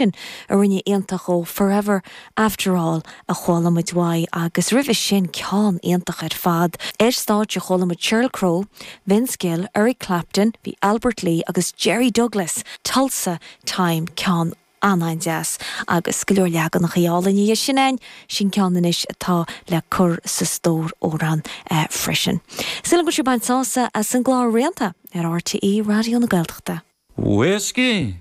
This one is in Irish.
A rinne iontach ó Forever After All a chuala muid uaidh agus roimhe sin ceann iontach ar fad. Ar stáitse chuala muid Sheryl Crow, Vince Gill, Eric Clapton, bhí Albert Lee agus Jerry Douglas, Tulsa Time, ceann an-an-deas agus go leor leaganachaí álainne dhe sin ann, sin ceann anois atá le cur sa stór amhrán freisin. Súil agam go bhfuil sibh ag baint sásamh as an gclár Rianta ar RTÉ Raidió na Gaeltachta. Whiskey!